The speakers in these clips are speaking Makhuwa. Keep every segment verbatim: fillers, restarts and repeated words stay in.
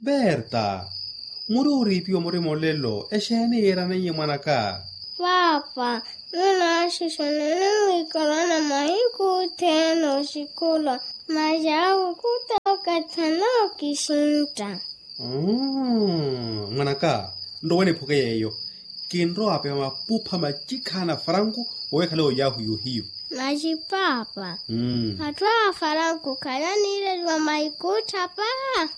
Berta, muri oriipiwa murima olelo exeeni yiiraneiye mwanaka? Paapa, ninaxixana ninwiikorana mahiku othene oxikulwa. Masi awo khuta okathana okixintta. Mwanaka, nrowa niphuke yeeyo. Kinrowa apewa mapupha macikhaana a faranku owekhale oyahu yohiyu. Masi paapa, atthu a faranku khala niireliwa maikuttha paa.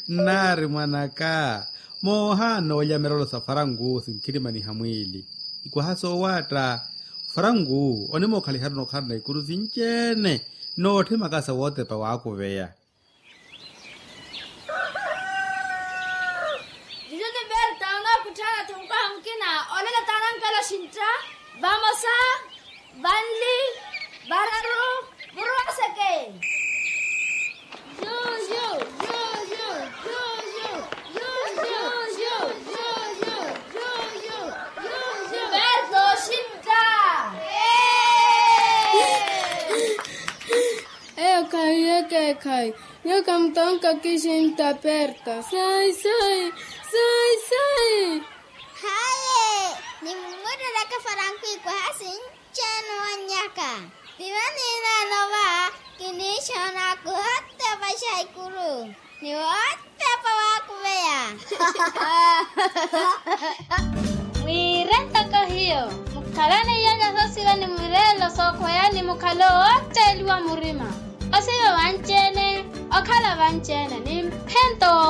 Nnaari mwanaka, moohaana olya mirelo sa faranku sinkhirimaniha mwiili. Ikwaha soowaatta, faranku onimookhalihari onokhalana ikuru sinci-ene. Nootthi makasa wootepa waakuveya. Juju ni berta onookutthaana-tho nkaha mukina. Olelo taanankela oxintta. Vamosa, vanli, vararu, muruwaseke. Juju, juju, juju. Berta oxintta. Eyo khahi ekeekhayi. Nyuwo khamutonka oxintta berta. Sayi sayi, sayi sayi. Haye, nimumuttereke faranku ikwaha sinci-ene owannyaka. Nive niinaano va kiniixoona kuhotepa xaikuru. Ni wootepa waakuveya. Mwiire ntoko hiyo mukhalane iyaka sosiva ni mwireelo sookhweyani mukhale owootteeliwa murima. Osiva vanci-ene, okhala vanci-ene ni mphento.